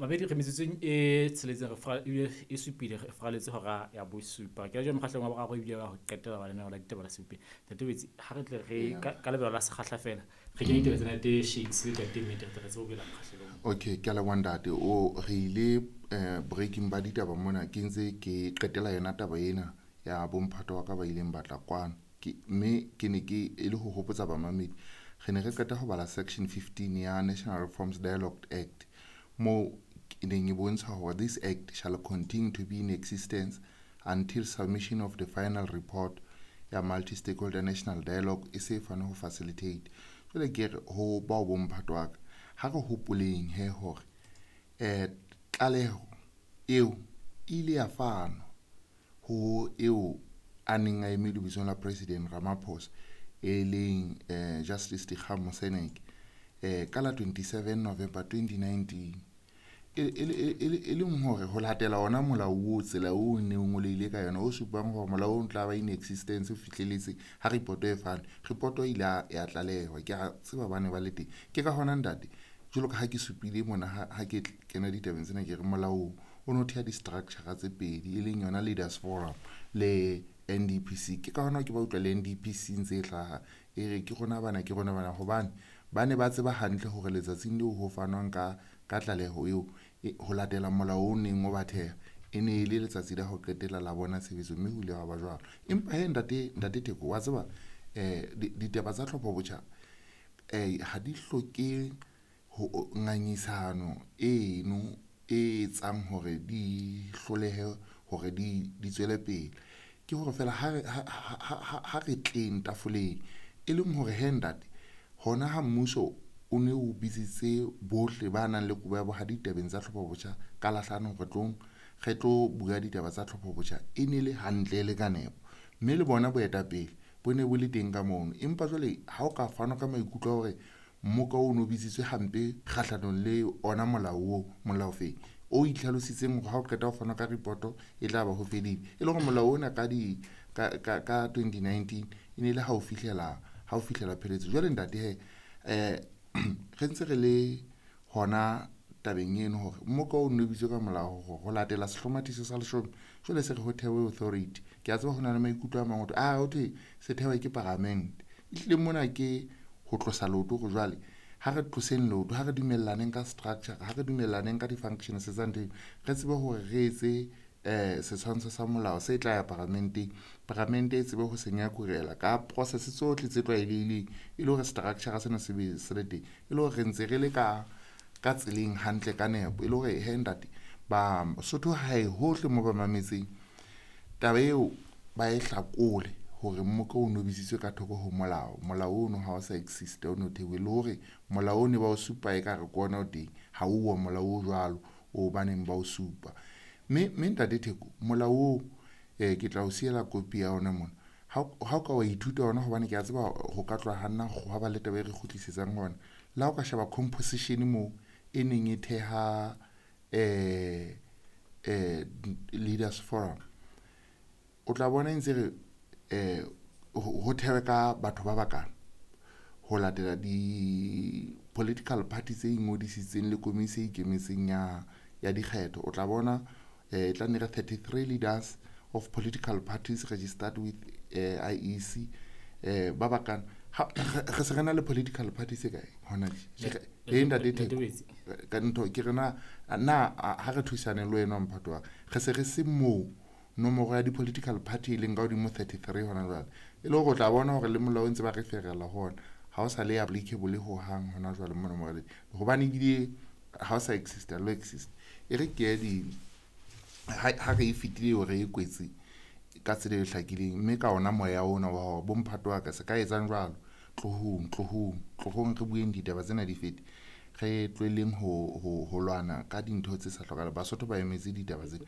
Mabedi re metsotsong e tsheletseng re fra ebile e supile re fraletse hora ya bosupa. Ke jwale mokgahlelong wa boraro ebile wa ho qetela wa lenaneo la ditaba la Seupeng. Ntate Wetsi, ha re tle re ka lebelo la sekgahla feela re kenye ditaba tsena tse Shakes le Ntate Mmete, re tle re tsebe ho boela mokgahlelong. Okay, ke a leboha, ntate. O re ile breaking ba ditaba mona, ke ntse ke qetela yona taba ena ya bomphato wa ka ba ileng batla kwano. Ke mme ke ne ke e le ho hopotsa bamamedi, re ne re qeta ho bala section 15 ya National Reforms Dialogue Act, moo e neng e bontsha hore this act shall continue to be in existence until submission of the final report ya multi-stakeholder national dialogue e se fane ho facilitate. Jwale ke re ho bao bomphato wa ka, ha re hopoleng he hore tlaleho eo e ile ya fanwa ho eo a neng a eme lebitsong la President Ramaphosa, e leng Justice Dikgang Moseneke, ka la 27 November 2019, e leng hore ho latela ona molao o tsela o ne o ngoleile ka yona, o supang hore molao o tla ba in existence ho fihleletse ha report e fane. Report e ile ya tlalehwa, ke a tseba ba ne ba le teng. Ke ka hona, ntate, jwalo ka ha ke supile mona ha ke kena ditabeng tsena, ke re molao o no theha di-structure tse pedi, e leng yona Leaders Forum le NDPC. Ke ka hona ke ba utlwa le NDPC ntse e hlaha e re ke rona bana, ke rona bana, hobane ba ne ba tseba hantle hore letsatsing leo ho fanwang ka tlaleho eo ho latela molao o neng o ba theha, e ne e le letsatsi la ho qetela la bona tshebetso, mme ho ile hwa ba jwalo. Empa he, ntate Theko, wa tseba ditaba tsa tlhopho botjha ha di hloke ho ngangisano eno e etsang hore di hlolehe hore di tswele pele. Ke hore feela ha re tleng tafoleng, e leng hore he, ntate, hona ha mmuso o ne o bitsitse bohle ba nang le kobo ya bohadi ditabeng tsa tlhopho botjha ka Lahlano, re tlong re tlo bua ditaba tsa tlhopho botjha, e ne le hantle le ka nepo, mme le bona boetapele bo ne bo le teng ka mono. Empa jwale ha o ka fanwa ka maikutlo a hore mmoka o no bitsitswe hampe kgahlanong le ona molao o molao feng o itlhalositseng hore ha o qeta ho fana ka report e tla ba ho fedile, e le hore molao ona ka di ka ka ka 2019 e ne le ha o fihlela pheletso. Jwale, ntate, he re ntse re le hona tabeng eno hore mmoka o no bitswe ka molao hore ho latela sehlomathiso sa 10, jwale se re ho thewe authority. Ke a tseba ho na le maikutlo a mang ho a ho thwe se thewe ke paramente. Ehlile mona ke ho tlosa leoto, hore jwale ha re tloseng leoto, ha re dumellaneng ka structure, ha re dumellaneng ka di-functions tsa ntho, re tsebe hore re etse setshwantsho sa molao se tla ya paramenteng, paramente e tsebe ho se nyakurela ka process tsohle tse tlwaelehileng, e le hore structure sena se be se le teng, e le hore re ntse re le ka tseleng hantle ka nepo, e le hore he, ntate, ba Sotho hae hohle mo ba mametseng taba eo ba e hlakole hore mmoka o no bitsitswe ka thoko ho molao. Molao ono ha o sa exist, o no thewe, le hore molao o ne ba o supa e ka re ke ona o teng, ha o molao o jwalo o baneng ba o supa. Mme ntate Theko, molao o ke tla o siela kopi ya ona mona ha o ka wa ithuta ona, hobane ke a tseba ho ka tloha hanna hwa ba le taba e re kgutlisetsang hona. Le ha o ka sheba composition moo e neng e theha Leaders Forum, o tla bona e ntse re ho thewe ka batho ba bakana ho latela di-political party tse ingodisitseng le komisi e ikemetseng ya dikgetho. O tla bona e tla nne re 33 leaders of political parties registered with IEC, ba bakana. Re se re na le political party se kae hona tje? E, ntate Theko, ka ntho ke re na ha re thusane le wena, mphato wa re se re se moo nomoro ya di-political party e leng ka hodimo 33 hona jwale, e le hore o tla bona hore le molao o ntse ba re ferela ho ona ha o sa le applicable ho hang hona jwale mona moraleng, hobane ebile ha o sa exist, lo exist. E re ke ye di ha re e fetile eo, re e kwetse ka tsela e hlakileng, mme ka ona moya ona wa hore bomphato wa ka se ka etsang jwalo, tlohong, tlohong, tlohong, re bueng ditaba tsena di fete, re tlohelleng ho lwana ka dintho tse sa hlokahaleng. Basotho ba emetse ditaba tsena.